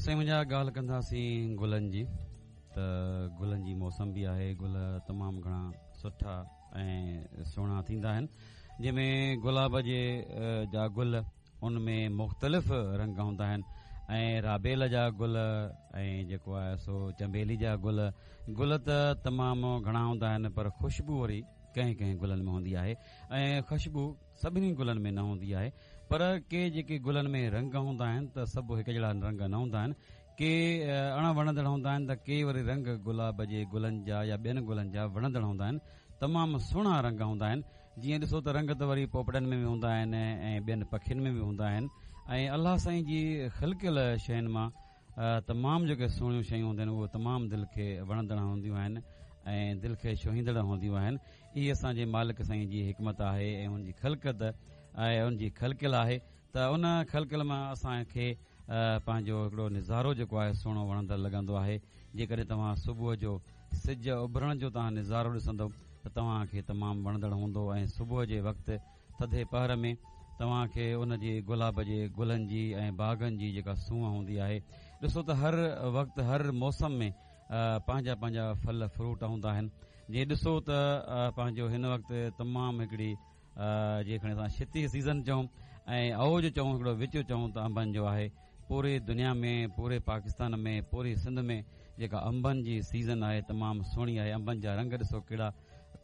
سائين منهنجا ڳالهه ڪنداسين گلن جي ته گلن جي موسم به آهي گل تمام گهڻا سٺا ۽ سهڻا ٿيندا آهن جنهن ۾ گلاب جي جا گل ان ۾ مختلف رنگ هوندا آهن ۽ رابيل جا گل ۽ جيڪو آهي سو چنبيلي جا گل گل ته تمام گهڻا هوندا آهن پر خوشبو وري ڪنهن ڪنهن گلن ۾ هوندي آهي ۽ خوشبو سڀني گلن ۾ نه هوندي آهي پر ڪي جيڪي گلن ۾ رنگ هوندا آهن ته سڀ هڪ جهڙا رنگ نه هوندا آهن ڪي اڻ وڻندڙ هوندا آهن ته ڪي وري رنگ گلاب جي گلن جا يا ٻين گلن جا وڻندڙ هوندا آهن تمام سهڻا رنگ هوندا آهن جيئن ڏسو ته رنگ ته وري پوپٽن ۾ به هوندا آهن ۽ ٻين پکين ۾ به هوندا آهن ۽ الله سائين جي خلقيل شين مان تمام جيڪي سهڻيون شيون هونديون آهن اهي تمام دل کي وڻندڙ هونديون آهن ۽ دل کي ڇهيندڙ هونديون آهن اهي اسان جي مالڪ سائين جي حڪمت آهي ۽ ان جي خلقت ۽ ان جي خلقيل آهي ته ان خلقيل مان اسان کي پنهنجو هڪڙو نظارو جيڪو آهي سهڻو وڻندڙ لڳندو آهي جيڪڏهن توهان صبح جو سج اڀرڻ جو توهان نظارو ڏسندو ته توهان کي تمام وڻندڙ هوندو ۽ صبح جي وقت ٿڌي پهر ۾ توهان کي ان جي گلاب جي گلن جي ۽ باغن جي جيڪا سونهن هوندي آهي ڏسو ته هر وقت هر موسم ۾ پنهنجا پنهنجا ڦل فروٽ هوندا آهن جي ڏسو ته پنهنجو هن وقت تمام هڪڙي جي کڻي اسان شتي سيزن چئون ۽ اوج چئون هڪڙو وچ چئون ته انبن جو آهي پوري دنيا ۾ پوري پاڪستان ۾ پوري سنڌ ۾ جيڪا انبن جي سيزن آهي تمام سهڻي آهي انبن جا رنگ ڏسو ڪهڙا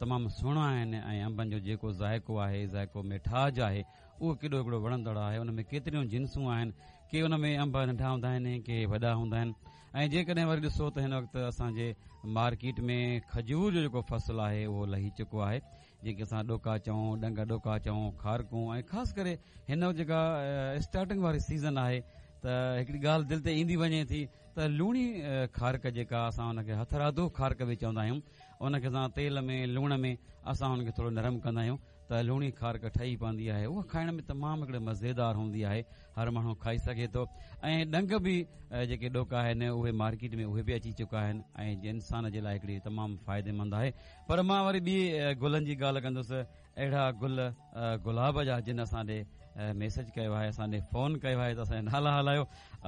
تمام سهڻا آهن ۽ انبن جو جيڪو ذائقو آهي ذائقو ميٺاج آهي اهو ڪيڏو هڪڙو وڻندڙ آهي ان ۾ ڪيتريون جنسون آهن ڪي ان ۾ انب ننڍا هوندا آهن ڪي وڏا هوندا آهن ۽ جيڪڏهن وري ڏسو ته هن وقت اسان جي مارڪيٽ ۾ کجور جو جيڪو فصل آهي اهو لهي چڪو آهي جنهن کي اسان ڏوڪا چئون، ڏنگ ڏوڪا چئون، کارڪون ۽ خاص ڪري هن وقت جيڪا اسٽارٽنگ واري سيزن آهي ته هڪڙي ڳالهه دل تي ايندي وڃي ٿي ته لوڻي کارڪ جيڪا اسان ان کي هٿرادو کارڪ به چوندا آهيون ان کي اسان تيل ۾ لوڻ ۾ اسان ان کي ٿورو نرم ڪندا آهيون ته لوڻي کارڪ ٺهي پوندي آهي اها کائڻ ۾ تمام هڪڙي مزيدار هوندي آهي هر ماڻهو کائي سگهي ٿو ۽ ڏنگ به جيڪي ڏوڪا آهن اهي مارڪيٽ ۾ اهي به اچي چڪا آهن ۽ انسان جي لاء هڪڙي تمام فائديمند آهي پر مان وري ٻي گلن جي ڳالهه ڪندس اهڙا گل گلاب جا جن اسان ڏي ميسج ڪيو آهي اسان ڏي فون ڪيو آهي ته اسان جا نالا هلايو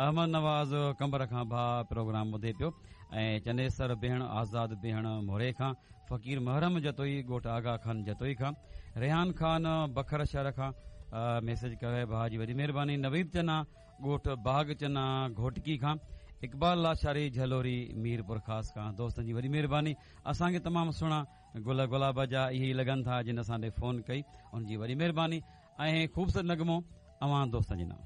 احمد نواز قمبر کان ڀاء پروگرام ٻڌي پيو ۽ چنيسر بيهڻ آزاد بيهڻ موري کان فقير محرم جتوئي ڳوٺ آغا خان جتوئي کان ريحان خان بکر شهر کان ميسج ڪيو آهي ڀاء جي وڏي مهرباني نويد چنا ڳوٺ باغ چنا گهوٽڪي کان اقبال لاشاري جهلوري ميرپورخاص کان دوستن جي وڏي مهرباني اسان کي تمام سهڻا گل گلاب جا اهي ئي لڳن ٿا جن اسان ڏي فون ڪئي ان جي وڏي مهرباني ۽ خوبصورت نغمو اوهان دوستن جي نام.